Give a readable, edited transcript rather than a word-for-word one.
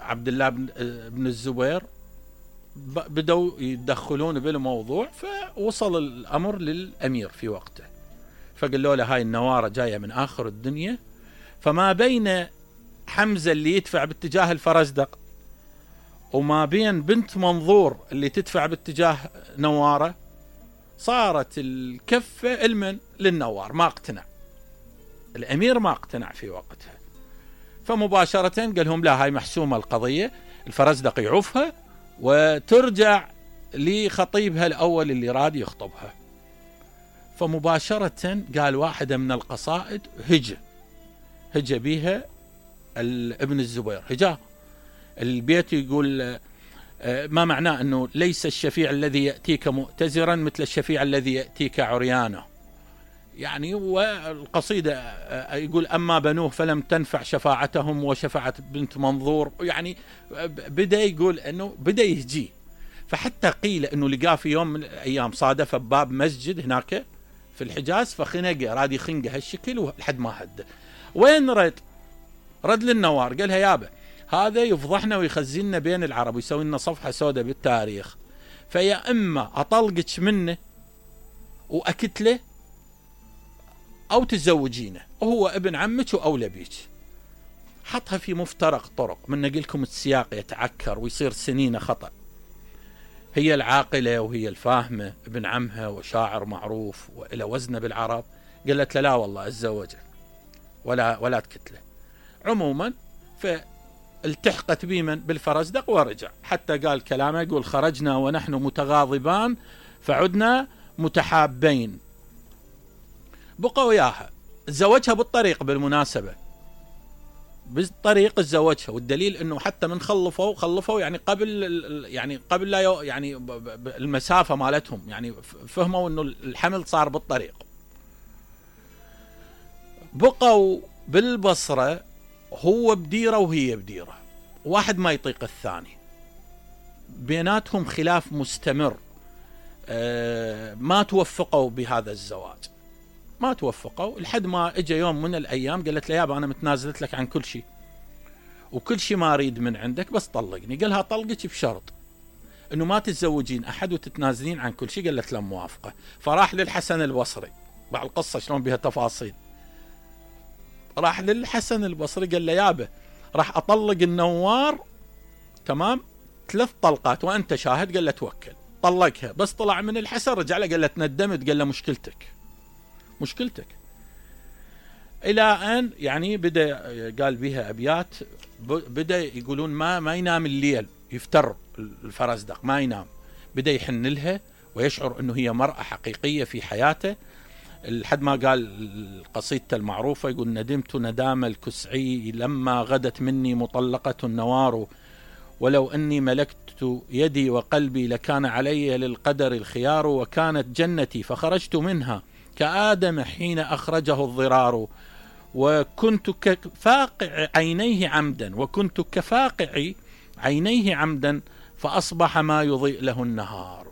عبد الله بن الزبير بدوا يتدخلون بالموضوع، فوصل الأمر للأمير في وقته، فقالوا له هاي النوارة جاية من آخر الدنيا، فما بين حمزة اللي يدفع باتجاه الفرزدق وما بين بنت منظور اللي تدفع باتجاه نوارة صارت الكفة للنوار. ما اقتنع الأمير، ما اقتنع في وقتها، فمباشرة قال لهم لا، هاي محسومة القضية، الفرزدق يعوفها وترجع لخطيبها الأول اللي راد يخطبها. فمباشرة قال واحدة من القصائد هجى بيها ابن الزبير، هجاه البيت، يقول ما معناه أنه ليس الشفيع الذي يأتيك مؤتزرا مثل الشفيع الذي يأتيك عريانه، يعني والقصيدة يقول أما بنوه فلم تنفع شفاعتهم وشفعت بنت منظور، يعني بدأ يقول أنه بدأ يهجي. فحتى قيل أنه لقاه في يوم من الأيام صادف بباب مسجد هناك في الحجاز، فخنقه، راد يخنقه هالشكل لحد ما هده. وين رد للنوار، قالها يابا هذا يفضحنا ويخزننا بين العرب ويسوي لنا صفحة سوداء بالتاريخ، فيا إما أطلقك منه وأكتله أو تزوجينه، وهو ابن عمك وأولى بيك. حطها في مفترق طرق، من نقلكم السياق يتعكر ويصير سنين خطأ. هي العاقلة وهي الفاهمة، ابن عمها وشاعر معروف وإلى وزنه بالعرب، قالت له لا والله أتزوجه ولا تكتله. عموما فالتحقت بمن بالفرزدق ورجع، حتى قال كلامه، يقول خرجنا ونحن متغاضبان فعدنا متحابين. بقوا وياها، تزوجها بالطريق، بالمناسبة بالطريق تزوجها، والدليل انه حتى من خلفوا يعني قبل لا يعني المسافة مالتهم، يعني فهموا انه الحمل صار بالطريق. بقوا بالبصرة، هو بديرة وهي بديرة، واحد ما يطيق الثاني، بيناتهم خلاف مستمر، ما توفقوا بهذا الزواج، ما توفقوا، لحد ما اجى يوم من الايام قالت له يابا انا متنازلت لك عن كل شيء وكل شيء ما اريد من عندك، بس طلقني. قالها طلقك بشرط انه ما تتزوجين احد وتتنازلين عن كل شيء. قالت له موافقة. فراح للحسن البصري، بعد القصة شلون بها تفاصيل، راح للحسن البصري قال له يابا راح اطلق النوار تمام 3 طلقات وانت شاهد. قال له توكل. طلقها، بس طلع من الحسن رجع له قال له تندمت. قال له مشكلتك. الى ان يعني بدا قال بها ابيات، بدا يقولون ما ينام الليل، يفتر الفرزدق ما ينام، بدا يحن لها ويشعر انه هي مرأة حقيقية في حياته، لحد ما قال قصيدته المعروفة، يقول ندمت ندام الكسعي لما غدت مني مطلقة النوار، ولو أني ملكت يدي وقلبي لكان علي للقدر الخيار، وكانت جنتي فخرجت منها كآدم حين أخرجه الضرار، وكنت كفاقع عينيه عمدا فأصبح ما يضيء له النهار.